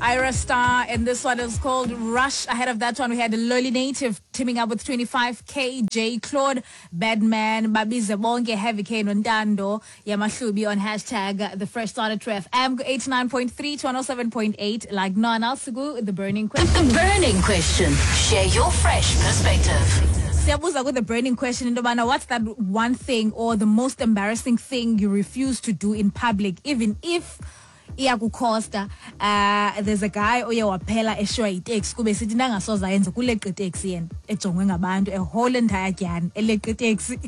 Ira Star, and this one is called Rush. Ahead of that one, we had Lowly Native teaming up with 25K, J Claude, Badman, Babize Bonke, Heavy K, Nontando, Yamahlubi on hashtag The Fresh Start at True FM, 89.3 to 107.8, like none else, the burning question. The burning question. Share your fresh perspective. Siyabuza with the burning question into yobana what's that one thing or the most embarrassing thing you refuse to do in public, even if iyakukhosta? There's a guy oye waphela eshiywa yiteksi kube sithi nangasoze ayenze kuleqa iteksi yena ejongwe ngabantu, a whole entire dyani eleqa iteksi.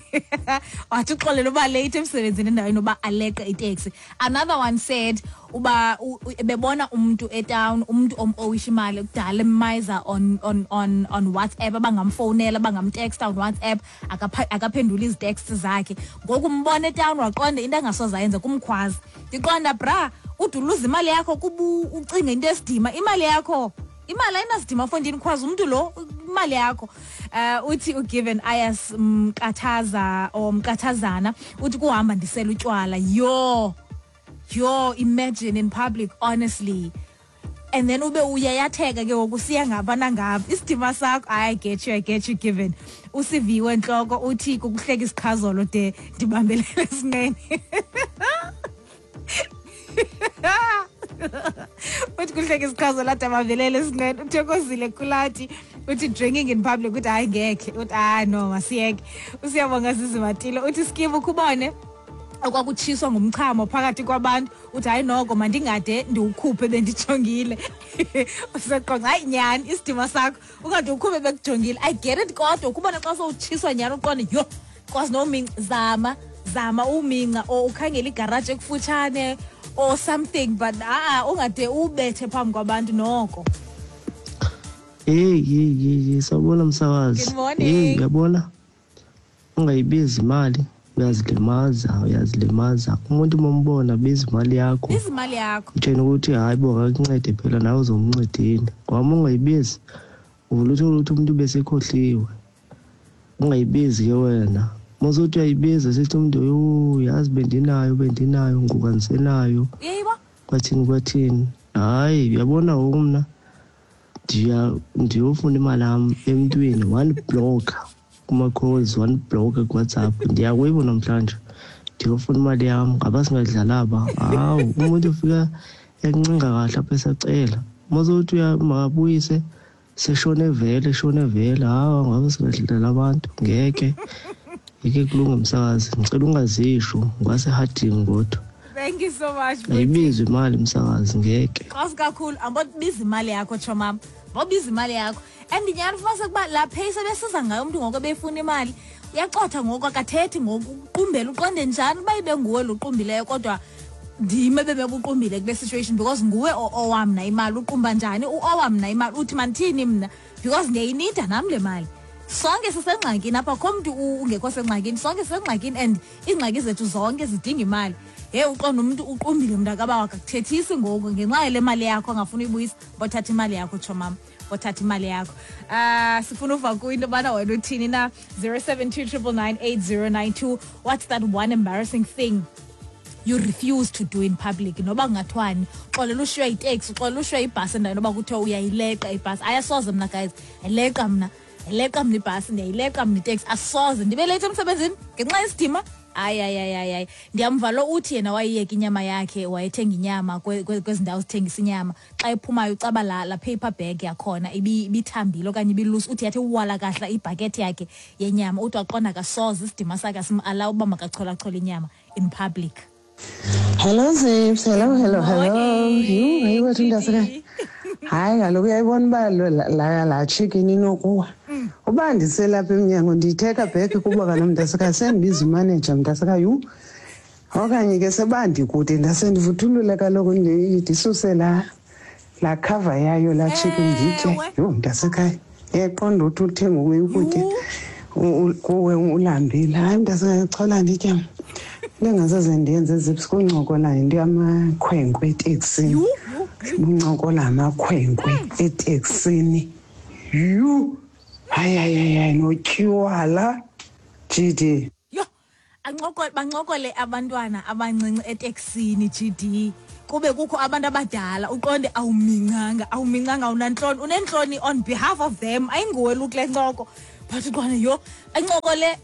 Wathi uxolela uba late emsebenzini endaweni yoba aleqe iteksi. Another one said uba bebona umntu etown, umntu om-owisha imali kudala emayiza on WhatsApp, abangamfowunela, abangamtexta on WhatsApp, akaphenduli izitext zakhe. Ngoku umbona etown waqonda into angasoze ayenze kumkhwaza. Ndiqonda bra, ude uluze imali yakho kuba ucinga into esidima. Imali yakho, imali ayinasidima fondini, khwaza umntu lo imali yakho. Uthi uGiven Ayas Mkathaza or Mkathazana, uthi kuhamba ndisela utywala. Yho, yho, imagine in public, honestly. And then ube uyayatheka ke ngoku siya ngapha nangapha isidima sakho. I get you, I get you, Given. Usiviwe Ntloko uthi kukuhleka isiqhazolo de ndibambelele esinqeni. Uthi kuhleka isiqhazolo ade abambelele esinqeni. Uthokozile Kulati uthi drinking in public, uthi hayi ngekhe, uthi hayi no masiyeke. Usiyabonga Zizimatile uthi skimu ukubone okwakutshiswa ngumchamo phakathi kwabantu, uthi hayi noko mandingade ndiwukhuphe bendijongile. Useqonga hayi nyhani isidima sakho ungade ukhuphe bekujongile. I get it, kodwa ukubona xa sowutshiswa nyhani uqonde yho kwazi nominca, zama zama uminca or ukhangele igaraji ekufutshane or something, but a-a ungade ubethe phambi kwabantu noko. Hey, hey, hey, hey, sawubona msakazi. Good morning. Hey, uyabona? Ungayibizi imali, uyazilimaza, uyazilimaza. Umuntu uma umbona biza imali yakho. Biza imali yakho. Utshena ukuthi hayi bo akakuncede phela nawe uzomncedini. Ngoba uma ungayibizi, uvula uthole ukuthi umuntu ubesekhohliwe. Ungayibizi ke wena. Uma usuthi uyayibiza sithi umuntu yho yazi bendinayo, bendinayo ngoku andisenayo. Uyayibo? Kwathini, kwathini. Hayi, uyabona ngoku mna ndiyofuna imali yam emntwini, one block kuma-calls, one block kuWhatsApp. Ndiya kuyibo namhlanje ndiyofuna imali yam, ngaba singadlala aba. Hawu, umuntu ufika ekuncenga kahle apha esacela. Uma usuthi makabuyise seshone vele, shone vele. Hawu, ngaba singadlala abantu, ngeke. Ngeke kulunge msakazi, ngicela ungazisho ngwasehardini kodwa. Thank you so much, Buti. Ayibizwa imali msakazi, ngeke. Xosi kakhulu, ambobiza imali yakho chomam. Bobiza imali yakho. And nyhani fumanise ukuba la pace ebesiza ngayo umntu ngoku ebefuna imali, uyacotha ngoku akathethi ngoku, uqumbele uqonde njani uba ibe nguwe lo uqumbileyo, kodwa ndim ebebebuqumbile kule situation because nguwe owa mna imali, uqumba njani uowa mna imali, uthi mandithini mna because ndiyayinida nam le mali. Sonke sisengxakini apha, akho mntu ungekho sengxakini, sonke sisengxakini and iingxaki zethu zonke zidinga imali. Hey, uqonda umntu uqumbile mntakabawo akakuthethisi ngoku ngenxa yale mali yakho angafuni uyibuyisa, bothatha imali yakho tshomam, bothatha imali yakho. Sifuna uva kuyo into yobana wena uthini na. 072 999 8092. What's that one embarrassing thing you refuse to do in public? Noba kungathiwani, uxolela ushiywa yiteksi, uxolela ushiywa yibhasi endaweni yoba kuthiwa uyayileqa ibhasi. Ayasoze mna guys, ayileqa mna, ayileqa mna ibhasi, ndiyayileqa mna iteksi, asoze ndibe late emsebenzini ngenxa yesidima. Hayi, hayi, hayi, hayi, hayi. Ndiyamva lo uthi yena wayiyeka inyama yakhe, wayethenga inyama kwezi ndawo zithengisa inyama. Xa ephumayo ucaba la paper bag yakhona ibithambile okanye ibilusi, uthi yathi uwala kahla ibhakethi yakhe yenyama, uthi waqonda akasoze isidima sakhe asim-alawa uba makacholachole inyama in public. Hello Zips, hello, hello, hello. Morning. Yhu, hayi wethu mntasekhaya. Hayi kaloku uyayibona uba la chicken inokuwa. Uba ndiselapha emnyango ndiyitheka back kuba kaloku mntasekhaya sendibiza umanager mntasekhaya, yhu. Okanye ke seba ndikude ndase ndivuthulule kaloku ndisuse la cover yayo la chicken nditye. Ewe. Yhu mntasekhaya, uyayiqonda uthi uthenga ukutya. Yhu. Kuwe ulambile. Hayi mntasekhaya, chola nditye. Into engasoze ndiyenze Zips kuncokola yinto yamakhwenkwe eteksini. Yhu, yhu, yhu. Kuncokola amakhwenkwe eteksini. Yhu! Hayi, hayi, hayi, hayi, notywala. GD. Yho! Ancokole, bancokole abantwana abancinci eteksini, GD, kube kukho abantu abadala, uqonde awumincanga, awumincanga, awunantloni, unentloni on behalf of them, ayinguwe lukule ncoko, but uqonde yho, ancokole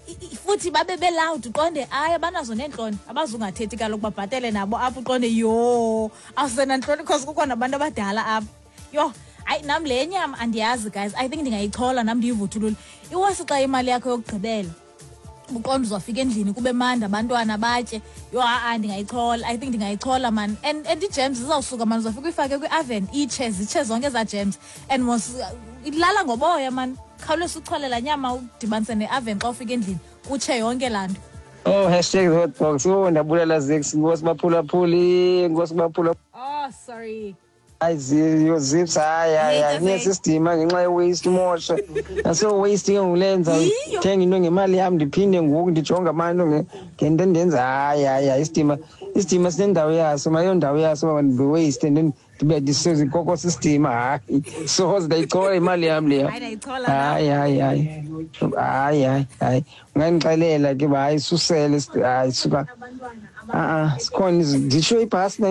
futhi babe belawud, uqonde hayi abanazo neentloni, abazungathethi kaloku babhatele nabo apho, uqonde yho, awusenantloni because kukho nabantu abadala apha. Yho, hayi nam le nyama andiyazi guys, I think ndingayichola nam ndiyivuthulule. Iwesi xa imali yakho yokugqibela uqonda uzawufika endlini kube mandi abantwana batye. Yho, ha-a ndingayichola, I think ndingayichola man. And ii-gems zizawusuka man, uzawufika uyifake kwi-oven itshe, zitshe zonke ezaa gems and mos ilala ngoboya man. Khawuleza uchole laa nyama udibanise ne-oven xa ufika endlini kutshe yonke laa nto. Oh, #hotbox. Oh, ndabulala Zix, nkosi baphulaphuli, nkosi baphula. Oh, sorry. Hayi yo Zips, hayi hayi hayi, nesisidima ngenxa ye-waste umosha. Naso waste ke ngulenza thenga into ngemali yam ndiphinde ngoku ndijonge abantu ngento endenza. Hayi hayi hayi, isidima, isidima sinendawo yaso, mayondawo yaso waste and then ndibe ndisezikoko sisidima. Hayi soze, ndayichola imali yam leya. Hayi hayi hayi hayi hayi hayi, ungandixelela ke uba hayi susele, hayi suka, a-a sikhona nditsho ibhasi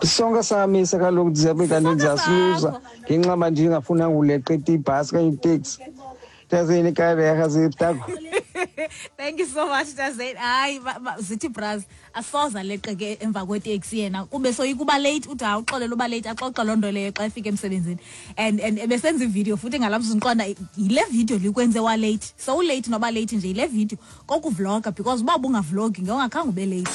sonke samisa kaloku, ndizabe kanti ndizasiluza ngenxa uba ndingafunanga uleqa ibhasi okanye iteksi. Tazeni kareha ziptako. Thank you so much, Tazeni. Hayi zithi bras asoza leqe ke emva kweteksi yena kube soyika uba late, uthi hayi uxolela uba late, axoxe loo nto leyo xa efika emsebenzini and ebesenza ividiyo futhi ngalaa mzuzu, ndiqonda yile video likwenze wa late, so ulate noba late nje yile video kokuvloga, because uba ubungavlogi ngewungakhange ube late.